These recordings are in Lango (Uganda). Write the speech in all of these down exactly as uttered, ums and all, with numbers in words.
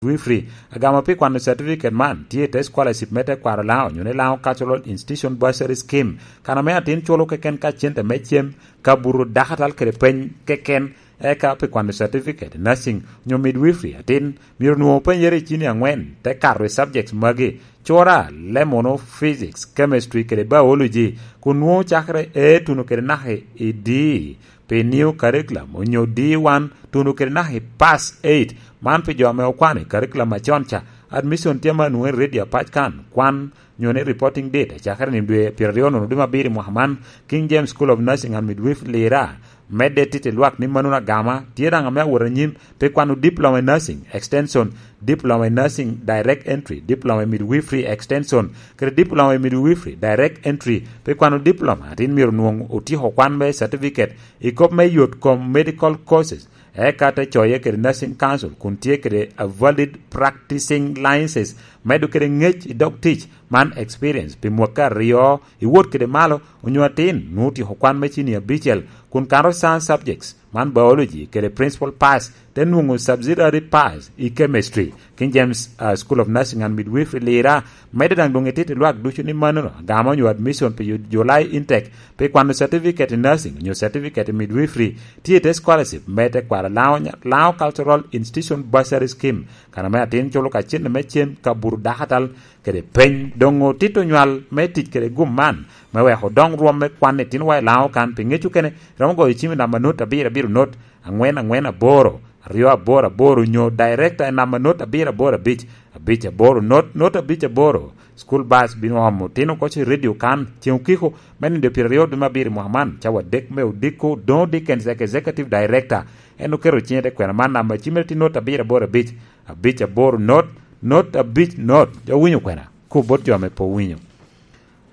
Midwifery. Agama pi kwano certificate man tye i te scholarship me tekwaro Laŋo, onyo ni Laŋo Cultural Institution Bursary Scheme, kan ame atin culo keken ka cente me cem, kabuto, dakatal kede peny keken. Eka pi kwano certificate nursing onyo midwifery, atin myero nwoŋo penyere i cini aŋwen, te kato i subjects magi: cura, lemono, physics, chemistry kede biology, kun nwoŋo cakere A tuno kede naka i D pi new curriculum, onyo D one tuno kede naka i pass eight. Man pi jo ame okwano i curriculum acon ca. Admission tye ma nwoŋo i radio apac kan, kwan onyo ni reporting date acakere ni dwe pyeraryo nono dwe me abiro i mwaka man. King James School of Nursing and Midwifery Lira medde tito i lwak ni mano agama tye daŋ ame awot anyim pi kwano diploma in nursing extension, diploma in nursing direct entry, diploma in midwifery extension, kede diploma in midwifery direct entry. Pi kwano diploma, atin myero nwoŋ otyeko kwan me certificate i kop me yot kom medical courses, eka te coye kede nursing council kun tye kede a valid practicing licenses, medo kede ŋec i dog tic, man experience pi mwaka aryo i wot kede malo, onyo atin nwoŋo otyeko kwan me cini abicel kun kato science subjects, man biology kede principal pass, te nwoŋo subsidiary pass i chemistry. King James, uh, School of Nursing and Midwifery Lira medde daŋ doŋ itito i lwak ducu ni manono agama onyo admission pi July intake pi kwano certificate in nursing onyo certificate in midwifery tye i te scholarship me tekwaro Laŋo, Laŋo Cultural Institution Bursary Scheme, kan ame atin culo ka cente me cem, kabuto, dakatal kede peny. Doŋ otito nywal me tic kede gum man me weko odoŋ rwom me kwan itinowa i Laŋo kan, pi ŋec okene romo goyo cim i namba not abiro abiro not aŋwen aŋwen aboro aryo aboro aboro, onyo director i namba not abiro aboro abic abic aboro not not abic aboro. School bus bino omo otino oko i radio kan ceŋ okiko me nino pyeraryo dwe me abiro i mwaka man, cawa adek me odiko. Doŋ Dickens, Executive Director, en oketo ciŋe te kwena man, namba cimme tye not abiro aboro abic abic aboro not not abic not. Jo winyo kwena, kop bot jo ame pe owinyo.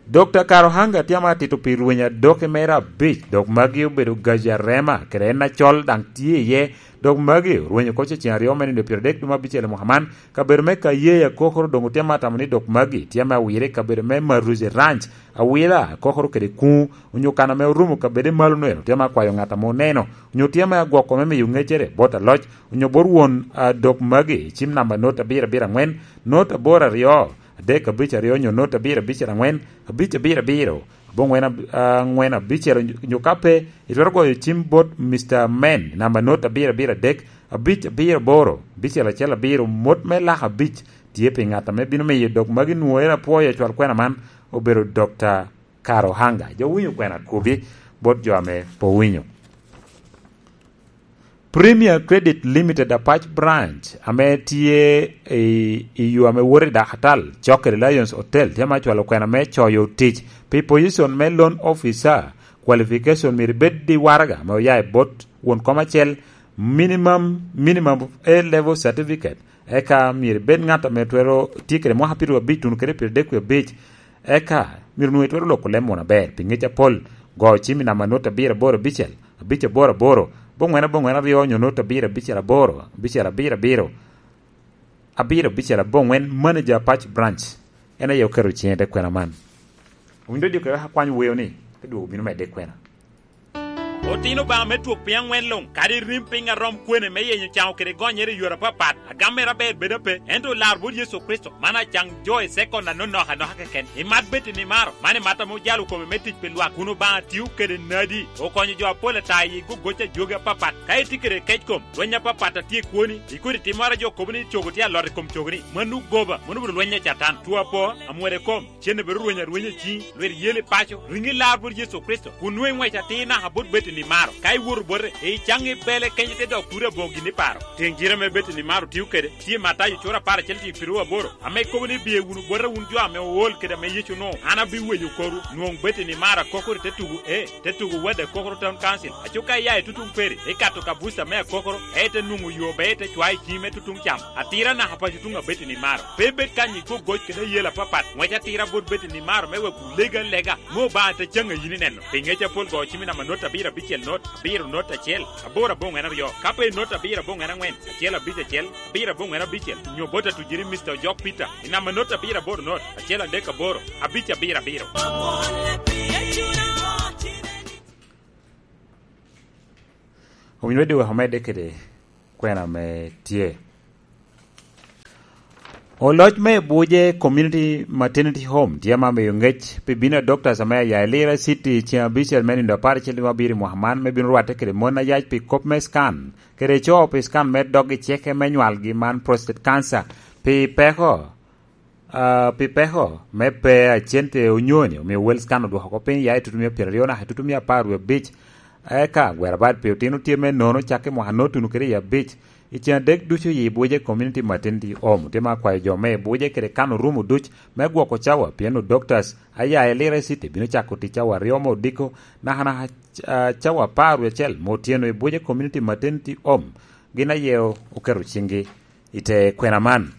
Dokta Karuhanga tye ame atito pi rweny adoki mere abic, dok magi obedo gaji arema, kede en acol daŋ tye iye. Dok magi orwenyo oko ceŋ aryo me nino pyeraryo dwe me abicel i mwaka man. Kabedo me Kayeya Kokoro doŋ otye ame atamo ni dok magi tye ame awire i kabedo me Maruzi Ranch, Awila, Kokoro kede Kuŋu, onyo kan ame orumo kabedo i malo neno, tye ame akwayo ŋat ame oneno, onyo tye ame agwoko me miyo ŋecere bot aloc, onyo bot won, a, dok magi, cim namba not abiro abiro aŋwen, not aboro aryo, adek abic aryo, onyo not abiro abicel aŋwen, abic abiro abiro, aboŋwen ab-, aŋwen abicel, onyo ka pe, itwero goyo cim bot Mister Men, namba not abiro abiro adek, abic abiro aboro, abicel acel abiro. Mot me lak abic tye pi ŋat ame bino miyo dok magi nwoŋere apwoyo acwal kwena man, obedo Dokta Karuhanga. Jo winyo kwena, kobi bot jo ame pe owinyo. Premier Credit Limited Apac Branch, ame tye i, i yo ame woto i Dakatal, cok kede Lions Hotel, tye ame acwalo kwena me coyo tic pi position me loan officer. Qualification myero ibed i waraga ame oya i bot won kom acel, minimum, minimum of A level certificate, eka myero ibed ŋat ame twero tye kede mwaka pyeraryo abic tuno kede pyeradek wie abic, eka myero nwoŋo itwero loko leb munu aber pi ŋec apol. Go cim i namba not abiro aboro abicel, abic aboro aboro, aboŋwen aboŋwen aryo, onyo not abiro abicel aboro, abicel abiro abiro, abiro abicel aboŋwen, manager Apac Branch. En aye oketo ciŋe i te kwena man. Owinyo dok akwany weo ni, te dwogo bino medde i kwena. Otino Obaŋa me twok piny aŋwen luŋ, kadi rim piny a rom kwene me yenyo caŋo kede gonyere i yore apapat, agam mere aber bedo ape, ento olar bot Yecu Kricito, man acaŋ jo i sekon anonok anoka keken. Imat bed i nimaro, man imat ame ojalo kome me tic pi lwak, kun Obaŋa tio kede nadi, okonyo jo apol ata i gogoc a jogi apapat. Ka itye kede kec kom, lweny apapat a tye i kwoni, i kodi timmoro a jo kobo ni cogo tye alot i kom cogoni, mano goba, mano obedo lweny a Catan, two apo, amwode kom, cen obedo rweny arwenya i ciŋi, lwit yel i paco, riŋi lar bot Yecu Kricito, kun nwoŋo iŋwec atir naka bot bed i nimaro. Ka iwoto bote, icaŋ i bele kenyo te dok kuri aboŋo gin i paro. Tiŋ cire ame bed i nimaro tio kede, tye Matayo cura apar acel tiŋ piru aboro, ame kobo ni, "Biye wunu bota wun jo ame ool kede ame Yecu onwoŋo, an abiwenyo korwu." Nwoŋo bed i nimaro akokoro i te tugo A, te tugo Wad Akokoro Town Council. Aco ka ia i tutuŋ Peri, ikato ka buca me Akokoro, ite nwoŋo yo ber ite cwayo i ciŋi me tutuŋ cam. Atira naka paco tuŋ abed i nimaro. Pe ibed kany i gogoc kede ayela apapat. Ŋwec atira bot bed i nimaro me wek wulegi alega, me Obaŋa te caŋ a yin ineno. Pi ŋec apol go cim i namba not abiro abicel not, abiro not acel, aboro aboŋwen aryo. Ka pe i not abiro aboŋwen aŋwen, acel abic acel, abiro aboŋwen abicel, nyo bot atujiri Mister Ojok Peter, i namba not abiro aboro not, acel adek aboro, abic abiro abiro. Owinyo wede wek omedde kede kwena ame tye. Oloc me Buje Community Maternity Home tye ma miyo ngec pi bino a doctors ame aya i Lira City ceŋ abicel me nindo apar acel dwe me abiro i mwaka man, me bino rwatte kede mon ayac pi kop me scan kede co pi scan me dog i ceke me nywalgi man prostate cancer. Pi peko, ah, pi peko me pe a cente onyoni, omio wel scan odwoko oko piny ya i tutumia pyeraryo naka i tutumia apar wie abic. Eka gwero bad pi otino tye me nono cakke mwaka notuno kede i abic. I ceŋ adek ducu i Buje Community Maternity Home tye ma kwayo jo me Buje kede kano rumo duc me gwoko cawa, pien o doctors aya i Lira City bino cako tic cawa aryo me odiko, naka naka, ah, cawa apar wie acel me otyeno i Buje Community Maternity Home. Gin aye oketo ciŋgi i te kwena man.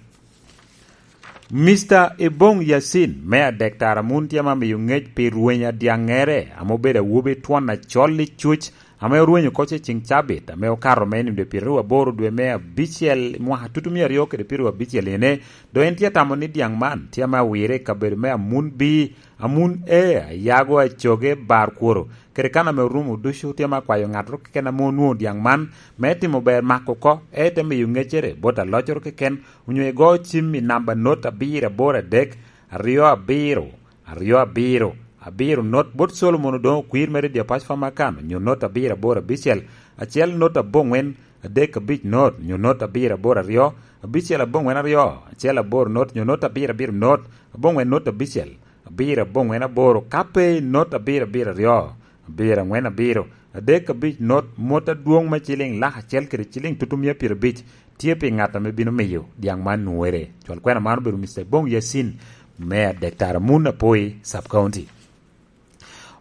Mister Ebong Yasin, me adek tara mun tye ma miyo ngec pi rweny adyaŋŋere, ame obedo awobi twon acol i cuc, ame orwenyo oko ce ceŋ cabit, ame okato me nindo pyeraryo aboro dwe me abicel mwaka tutumia aryo kede pyeraryo abicel ene. Dok en tye atamo ni dyaŋ man tye ame awire i kabedo me Amun B, Amun A, Ayago, Acoge, Bar Kworo, kede kan ame orumo ducu. Tye ma kwayo ŋattoro keken ame onwoŋo dyaŋ man me timo ber mako oko, ete miyo ŋeccere bot aloccoro keken, onyo igo cim i namba not abiro aboro adek, aryo abiro, aryo abiro, abiro not bot Solomon Odoŋo Okwir me Redio Apac Famakan, onyo not abiro aboro abicel, acel not aboŋwen, adek abic not, onyo not abiro aboro aryo, abicel aboŋwen aryo, acel aboro not, onyo not abiro abiro not, aboŋwen not abicel, abiro aboŋwen aboro, ka pe not abiro abiro aryo, abiro aŋwen abiro, adek abic not, mot adwoŋ me ciliŋ lak acel kede ciliŋ tutumia pyerabic tye pi ŋat ame bino miyo dyaŋ man nwere. Cwal kwena man obedo Mister Bong Yasin me adek tara mun Apoi Sub County.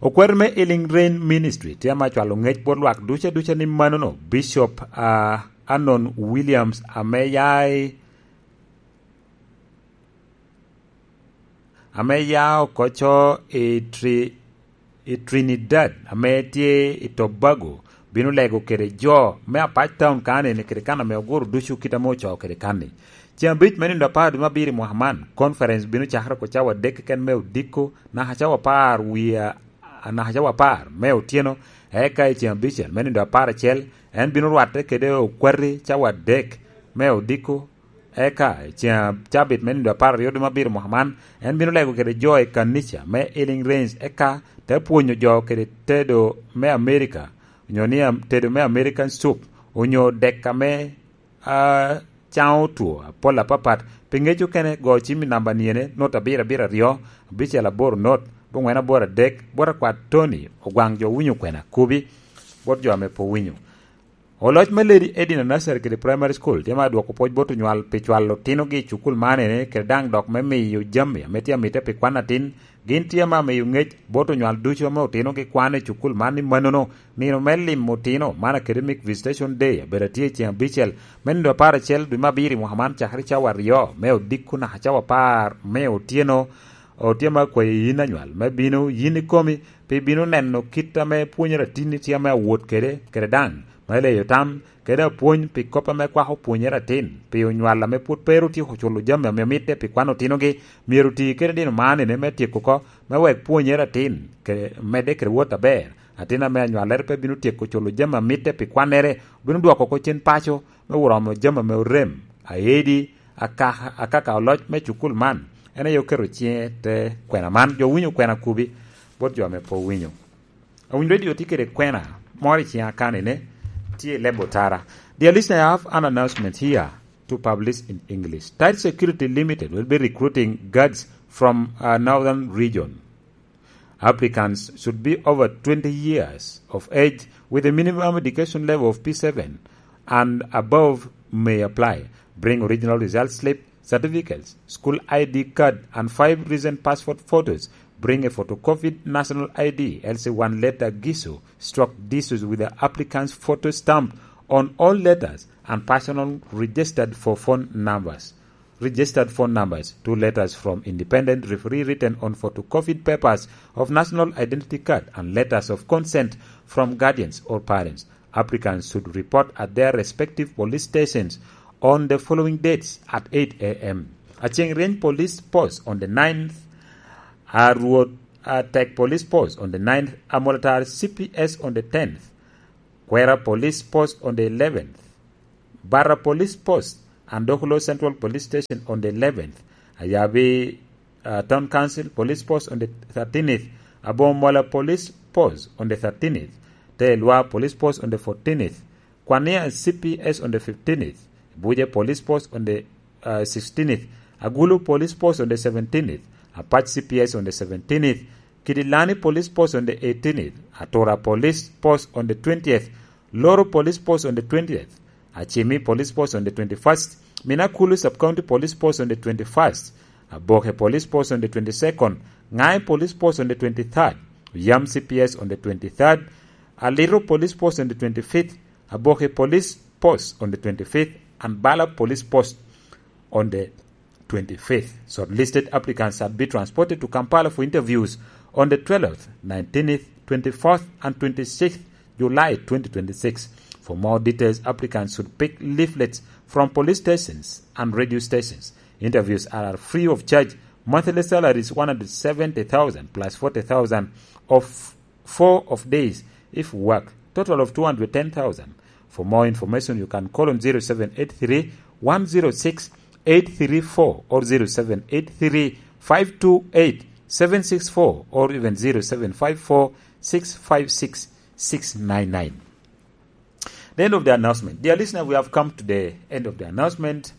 Okwero me Healing Rain Ministry tye ame acwalo ŋec bot lwak duca duca ni manono Bishop, ah, Anon Williams ame ya i ame ya oko co i Tri-, i Trinidad ame tye i Tobago bino lego kede jo me Apac Town kanni kede kan ame oguro ducu kit ame ocoo kede kanni. Ceŋ abic me nindo apar dwe me abiro i mwaka man, conference bino cakere oko cawa adek keken me odiko, naka cawa apar wie a-, naka cawa apar me otyeno, eka i ceŋ abicel me nindo apar acel, en bino rwatte kede okwati cawa adek me odiko, eka i ceŋ cabit me nindo apar aryo dwe me abiro mwaka man, en bino lego kede jo i kanica me Healing Rains, eka te pwonyo jo kede tedo me Amerika, onyo ni am-, tedo me American soup, onyo dek ame, ah, caŋo two apol apapat. Pi ŋec okene, go cim i namba niene, not abiro abiro aryo, abicel aboro not, aboŋwen aboro adek, bot akwat Tony Ogwaŋ jo winyo kwena kubi, bot jo ame pe owinyo. Oloc me Lady Edina Nursery kede Primary School tye ma dwoko pwoc bot onywal pi cwalo otinogi i cukul man ene, kede daŋ dok me miyo jami ame tye amite pi kwan atin. Gin tye ma miyo ŋec bot onywal ducu ame otinogi kwano i cukul man ni manono, nino me limo otino man Academic Visitation Day abedo atye i ceŋ abicel me nindo apar acel dwe me abiro i mwaka man cakere cawa aryo me odiko naka cawa apar me otyeno. Otye ma akwayo yin anywal me bino yin ikomi, pi bino neno kit ame pwonyere atinni tye ame awot kede, kede daŋ me leyo tam, kede apwony pi kop ame kwako pwonyere atin, pi onywal ame pwod pe ru otyeko culo jami ame mitte pi kwan otinogi, myero oti kede nino man ene me tyeko oko, me wek pwonyere atin ke-, medde kede wot aber. Atin ame anywalere pe bino tyeko culo jami amitte pi kwannere, obino dwoko oko cen paco me oromo jami ame orem, aedi, akaka, akaka oloc me cukul man. En aye oketo ciŋe te kwena man. Jo winyo kwena kubi bot jo ame pe owinyo. Awinyo Radio tye kede kwena moro i ciŋa kanine, tye i leb otara. Dear listener, I have an announcement here to publish in English. Tight Security Limited will be recruiting guards from, uh, Northern Region. Applicants should be over twenty years of age with a minimum education level of P seven and above may apply. Bring original result slip, certificates, school I D card, and five recent passport photos. Bring a photocopied national I D, else one letter giso, struck disus with the applicant's photo stamp on all letters and personal registered for phone numbers. Registered phone numbers, two letters from independent referee written on photocopied papers of national identity card and letters of consent from guardians or parents. Applicants should report at their respective police stations on the following dates at eight a m. Aceng Range Police Post on the ninth, Arwot Atek Police Post on the ninth, Amolatar C P S on the tenth, Kwera Police Post on the eleventh, Barra Police Post Andoklo Central Police Station on the eleventh, Ayabi, uh, Town Council Police Post on the thirteenth, Abomola Police Post on the thirteenth, Telwa Police Post on the fourteenth, Kwania C P S on the fifteenth, Abuja Police Post on the, uh, sixteenth, Agulu Police Post on the seventeenth, Apac C P S on the seventeenth, Kidilani Police Post on the eighteenth, Atura Police Post on the twentieth, Loro Police Post on the twentieth, Achimi Police Post on the twenty-first, Minakulu Sub-County Police Post on the twenty-first, Aboke Police Post on the twenty-second, Ngai Police Post on the twenty-third, Yam C P S on the twenty-third, Aliro Police Post on the twenty-fifth, Aboke Police Post on the twenty-fifth, and Bala Police Post on the twenty-fifth. Shortlisted applicants shall be transported to Kampala for interviews on the twelfth, nineteenth, twenty-fourth, and twenty-sixth July twenty twenty-six. For more details, applicants should pick leaflets from police stations and radio stations. Interviews are free of charge. Monthly salary is one hundred seventy thousand plus forty thousand of four of days if work, total of two hundred ten thousand. For more information, you can call on zero seven eight three, one zero six, eight three four or zero seven eight three, five two eight, seven six four or even zero seven five four, six five six, six nine nine. The end of the announcement. Dear listener, we have come to the end of the announcement.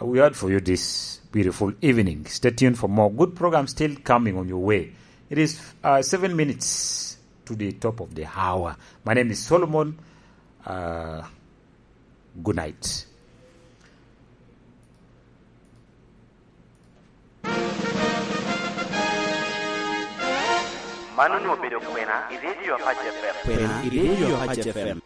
Uh, we had for you this beautiful evening. Stay tuned for more good programs still coming on your way. It is, uh, seven minutes to the top of the hour. My name is Solomon. Uh, good night. Mano onwoŋo obedo kwena i Radio Apac F M. Kwena i Radio Apac F M.